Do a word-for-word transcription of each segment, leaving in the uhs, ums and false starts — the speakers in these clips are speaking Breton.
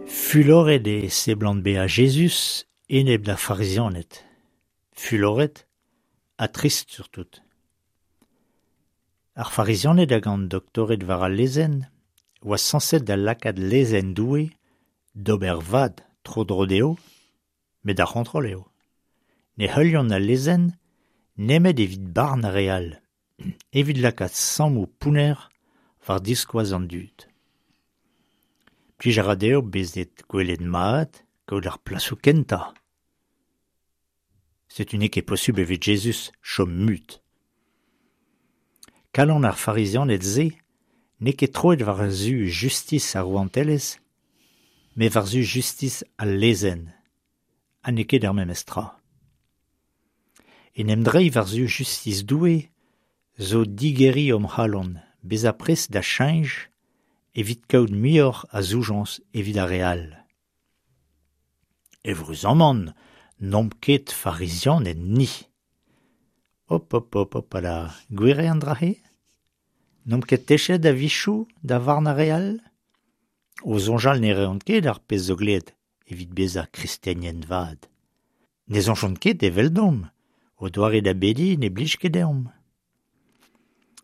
Fuloret e seblant bezañ Jezuz enep d'ar Farizianed. Fuloret ha trist surtout. Ar Farizianed hag an doktored war al lezenn oa sañset da lakaat lezenn Doue d'ober vad tro-dro dezho, met ar c'hontrol eo. Ne heuliont al lezenn nemet evit barn ar re all, evit lakaat sammoù pounner war diskoaz an dud. Plij a ra dezho bezañ gwelet mat, kaout ar plasoù kentañ. Setu n'eo ket posupl evit Jezuz chom mut. Kalon ar Farizianed-se n'eo ket troet war-zu justis ar rouantelezh, met war-zu justis al lezenn, ha n'eo ket ar memes tra. En em dreiñ war-zu justis Doue zo digeriñ hon c'halon, bezañ prest da cheñch evit kaout muioc'h a zoujañs evit ar re all. Eüruzamant n'omp ket Farizianed ni. Hop hop hop hopala, gwir eo an dra-se ? N'omp ket techet a-wechoù da varn ar re all ? O soñjal ne reont ket ar pezh zo dleet evit bezañ kristenien vat. Ne soñjont ket eveldomp, o doare da bediñ ne blij ket deomp.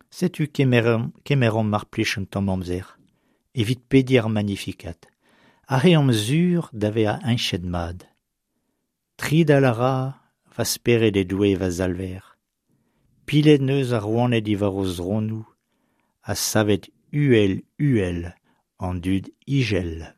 Setu kemeromp, kemeromp mar plij un tamm amzer evit pediñ ar Magnificat. Aze omp sur da vezañ heñchet mat. Tridal a ra va spered e Doue va Salver. Pilet en deus ar rouaned diwar o zronoù ha savet uhel-uhel an dud izel.